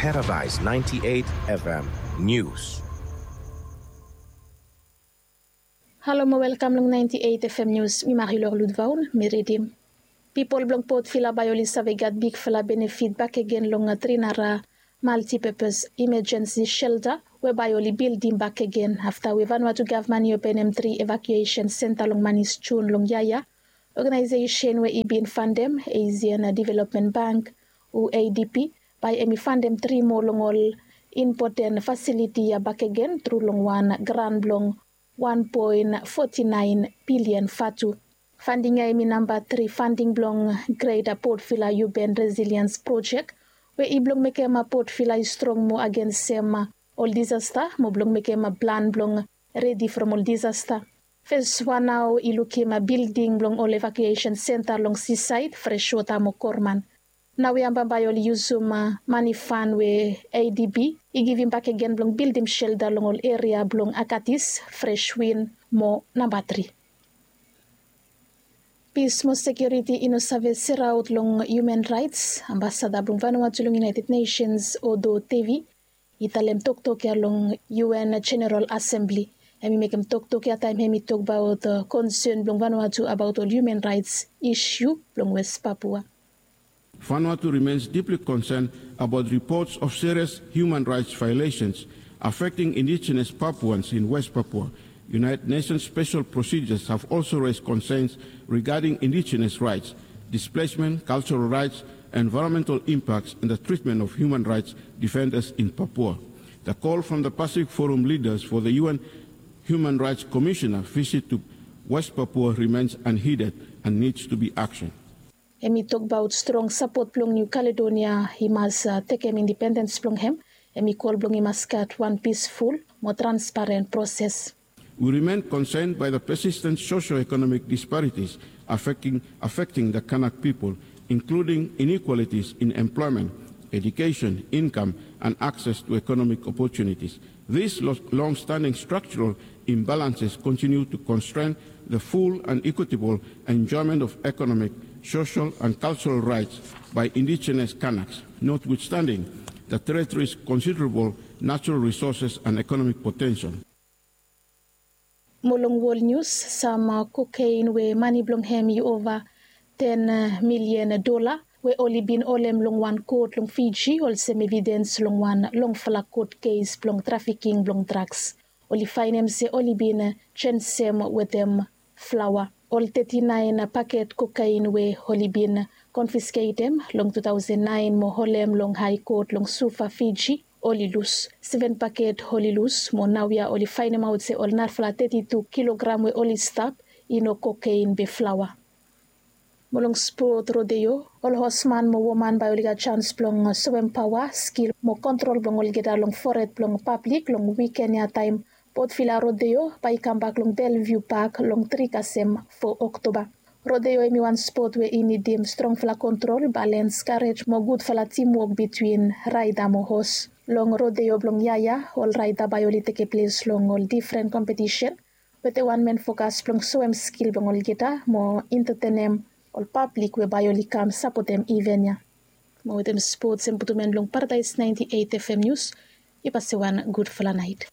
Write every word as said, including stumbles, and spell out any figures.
Paradise ninety-eight F M News. Halo mo welkam long ninety-eight F M News. Mi Marilor Ludvaun mi ridim. Pipol blong Port Vila bae oli save gat bigfala benefit bakegen long Trinara Multipurpose Emergency Shelter we bae oli bildim bakegen afta we Vanuatu gavman i openem tri evakuesen senta long manis Jun long yia ya. Oganaesesen we i bin fandem Asian Development Bank, U A D B, bae hemi fandem tri moa long ol impoten fasiliti ya bakegen tru long wan gran blong wan poen foti naen bilian vatu. Fanding ya hemi namba tri fanding blong Greater Port Vila Urban Resilience Project we i blong mekem Port Vila i strong moa agensem ol disasta mo blong mekem plan blong redi from ol disasta. Fes wan nao i lukim bilding blong ol evakuesen senta long sisaed, freswota mo korman. Nao ya bambae oli yusum mani fan we A D B i givim bakegen blong bildim shelta long ol eria blong Akatis, Freswin mo namba tri. Pis mo sekiuriti i no save seraot long human raets. Ambasada blong Vanuatu long United Nations, Odo Tevi, i talem toktok ya long U N General Assembly. Hemi mekem toktok ya taem hemi tokbaot konsen blong Vanuatu abaot ol human raets isiu blong West Papua. Vanuatu remains deeply concerned about reports of serious human rights violations affecting indigenous Papuans in West Papua. United Nations special procedures have also raised concerns regarding indigenous rights, displacement, cultural rights, environmental impacts, and the treatment of human rights defenders in Papua. The call from the Pacific Forum leaders for the U N Human Rights Commissioner visit to West Papua remains unheeded and needs to be action. Hemi tokbaot strong sapot blong New Caledonia i mas tekem independens blong hem. Hemi kol blong i mas gat wan pisful mo transparen proses. We remain concerned by the persistent socio-economic disparities affecting, affecting the Kanak people, including inequalities in employment, education, income, and access to economic opportunities. These lo-, long-standing structural imbalances continue to constrain the full and equitable enjoyment of economic, social, and cultural rights by indigenous Kanaks, notwithstanding the territory's considerable natural resources and economic potential. Mo long wol nius, sam kokaen we mane blong hem i ova ten milian dola we oli bin holem long wan kot long Fiji olsem evidens long wan longfala kot kes blong trafiking blong draks. Oli faenem se oli bin jensem wetem flaoa. Ol teti naen paket kokaen we oli bin konfisketem long tu taosen naen mo holem long Hae Kot long Suva, Fiji, oli lus. Seven paket oli lus, mo naoia oli faenemaot se ol narafala teti tu kilogram we oli stap i no kokaen be flaoa. Mo long spot rodeo, ol hosman mo woman bae oli gat jans blong soem paoa, skil mo kontrol blong olgeta long fored blong pablik long wiken ya taem Port Vila Rodeo bae i kambak long Bellevue Park long tri kasem fo Oktoba. Rodeo hemi wan spot we i nidim strongfala kontrol, balens, karej mo gudfala timwok bitwin raeda mo hos. Long rodeo blong yia ya, ol raeda bae oli tekem ples long ol difren kompetisen wetem wan men fokas blong soem skil blong olgeta mo entetenem ol pablik we bae oli kam sapotem iven ya. Mo wetem spots hem putum en long Paradise ninety-eight F M News. Yu pase wan gudfala naet.